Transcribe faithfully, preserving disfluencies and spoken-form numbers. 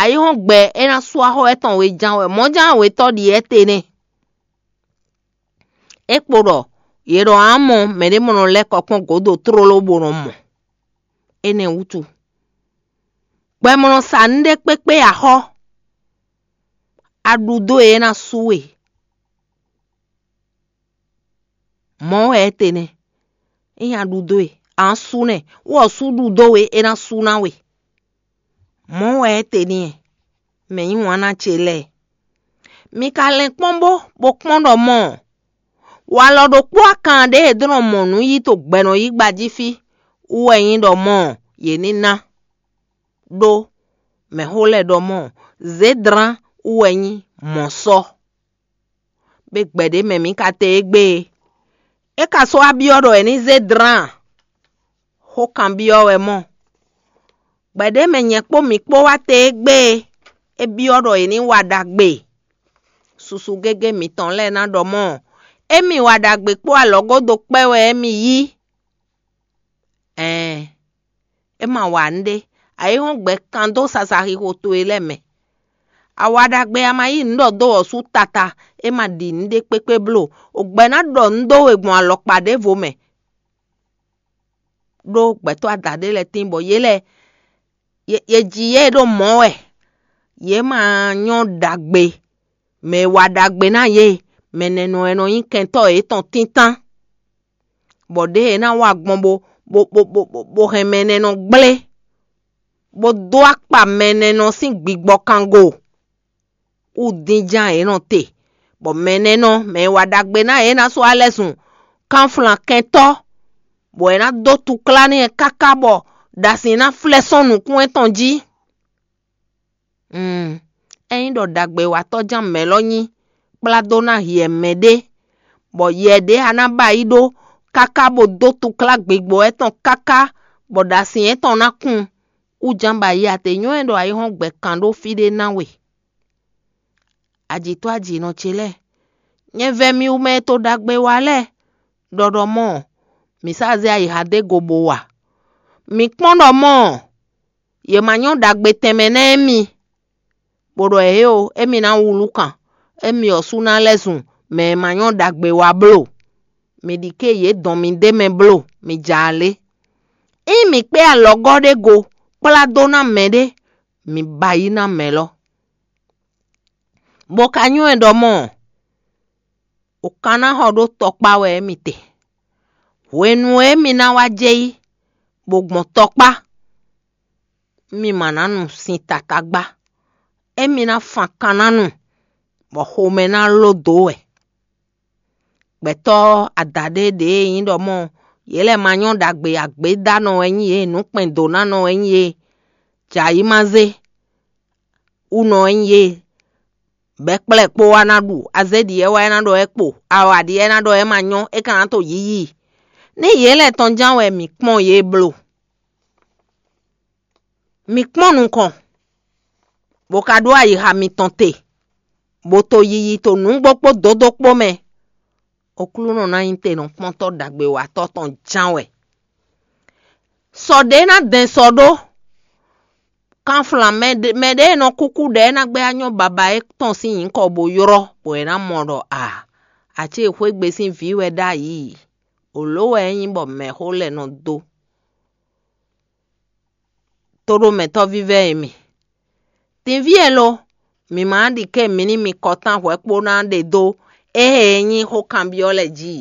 Ayǐhɔ́ngbe e ná sú axɔ́ étɔn weján wɛ mɔ̌jánwetɔ́ ɖi étɛ́ nɛ́. É kpo ɖɔ yě ɖɔ ǎ mɔ mɛɖé mɔ nɔ lɛ́ kɔ kpɔ́n gǒdo tlóló bó nɔ mɔ. Énɛ́ wútu, gbɛ mɔ nɔ sa nǔɖé kpékpé axɔ́, a ɖu dó e é ná sú we. Mɔ̌ wɛ é te nɛ́. Ényí a ɖu dó e, a nǎ sú nɛ́, wú ɔ́ sú ɖu dó we, é ná sú ná we. Mɔ̌ wɛ é te n'i, mɛ nyí wǎn ná ce lɛ́ɛ. Mi ka lɛn kpɔ́n bó, bó kpɔ́n ɖɔ mɔ̌, walɔ ɖokpó akan ɖé e dó nɔ mɔ nǔ yí to gbɛ̌nɔyígba jí fí wú wɛ nyí ɖɔ mɔ̌ yě ní ná, ɖó mɛ̌xó lɛ́ɛ ɖɔ mɔ̌, zědlán wú wɛ nyí mɔ̌ sɔ́. Bé gbɛ̌ ɖé mɛ mǐ ka te égbé e. É ka sɔ́ wá byɔ́ ɖɔ è ní zé dlán a? Xó kanbyɔ́ wɛ mɔ. Gbɛ̌ ɖé mɛ nyɛ kpó mǐ kpó wá te égbé e. É byɔ́ ɖɔ è ní wa ɖagbe. Susu gégé mǐtɔn lɛ́ɛ ná ɖɔ mɔ̌, émí wa ɖagbe kpó alɔgódo kpɛ́ wɛ émí yí. Ɛɛn, é ma wa nǔɖé, ayǐhɔ́ngbe kan dó sasaxixo towe lɛ́ɛ mɛ. A wa ɖagbe, a ma yí nǔ ɖɔ dó wɔ̌ sú tata, é ma ɖi nǔɖé kpékpé bló. O gbɛ̌ ná ɖɔ nǔ dó we gbɔn alɔkpa ɖěvo mɛ, ɖó gbɛ̌tɔ́ adaɖé lɛ́ɛ tíin bɔ yě lɛ́ɛ, yě, yě ji yě ɖó mɔ̌ wɛ. Yě ma nyɔ́ ɖagbe, mɛ e wa ɖagbe ná yě, mɛ nɛnɔ wɛ nɔ nyí kɛntɔ́ yětɔn tíntán, bɔ ɖěe è nǎ wa gbɔn bó, bó, bó, bó, bó, bó hɛn mɛ nɛnɔ gblé, bó dó akpa mɛ nɛnɔ sín gbigbɔ kango wú dínján yě nɔ te, bɔ mɛ nɛnɔ, mɛ e wa ɖagbe ná yě ná sɔ́ alɛ́ zun kanflan kɛntɔ́, bɔ è nǎ dó tuklá n'i káká bɔ ɖasin ná flɛ́ sɔ́n nukún étɔn jí. Mm, ényí ɖɔ ɖagbewatɔ́ ján mɛ̌ lɔ nyí kplá dó ná hiɛ mɛɖé, bɔ yɛ ɖě a ná ba yi ɖó káká bó dó tuklá gbigbɔ étɔn káká, bɔ ɖasin étɔn ná kun, wú ján ba yi a te nyɔ́ ɛ ɖɔ ayihɔ́ngbe kan ɖó fí ɖé ná we. Ajǐtɔ́ ajǐnɔ ce lɛ́ɛ, nyɛ vɛ́ mi wú mɛ e to ɖagbe wa lɛ́ɛ, ɖɔ ɖɔ mɔ̌, mǐ sá zé ayixa dó e go bó wa. Mǐ kpɔ́n ɖɔ mɔ̌, yě ma nyɔ́ ɖagbe tɛnmɛ ná émí, bó ɖɔ ěo, émí ná wlú kan, émí ɔ́ sú ná lɛ́ zun mɛ e ma nyɔ́ ɖagbe wa bló. Mi ɖi ké yě dɔn mi d'é mɛ bló, mi ja alé. Ényí mǐ kpé alɔgɔ́ ɖé go kplá dó ná mɛɖé, mi ba yi ná mɛ lɔ. Bó ka nyɔ́ ɛ ɖɔ mɔ̌, o ka ná xɔ ɖó tɔkpá wɛ émí te. Hwenu e émí ná wá jɛ yi, bó gbɔn tɔkpá, émí ma ná nu sin tata gbá. Émí ná fan kan ná nu, bɔ xomɛ ná ló dǒ wɛ. Gbɛtɔ́ adaɖé ɖě e nyí ɖɔ mɔ̌, yě lɛ́ ma nyɔ́ ɖagbe, agbědánɔ wɛ nyí yě, nǔkpɛndǒnánɔ wɛ nyí yě, jǎ yi ma zé wú nɔ wɛ nyí yě, bɛ̌kplɛ́ kpó wá ná ɖu, azé ɖi wɛ wá ná ɖɔ wɛ kpo, awǎ ɖi wɛ ná ɖɔ wɛ ma nyɔ́, é ka ná to yiyi. Ní yě lɛ́ɛ tɔn ján wɛ mǐ kpɔ́n yě bló. Mi kpɔ́n nukɔn, bó ka ɖó ayixa mitɔn te, bó to yiyi to nǔgbó kpó dǒdó kpó mɛ. Oklúnɔ ná nyí tenɔkpɔ́ntɔ́ ɖagbewatɔ́ tɔn ján wɛ. Sɔ ɖě ná dɛn sɔ ɖó kanflan mɛ ɖé e nɔ kúkú ɖɛ̌ ná gbé anyɔ́ baba étɔn sín nyǐkɔ bó ylɔ́, bɔ è nǎ mɔ ɖɔ a, acéxwégbé sín vǐ wɛ ɖ'ayǐ. Wǒ ló wɛ é nyí bɔ mɛ̌xó lɛ́ɛ nɔ dó. Tóɖomɛtɔ́ vívɛ́ e mi, dinví e lo, mǐ ma ɖi ké mǐ ní mi kɔtán hwɛ̌ kpó ná ɖe dó éhe e nyí xó kanbyɔ́ lɛ́ɛ jí.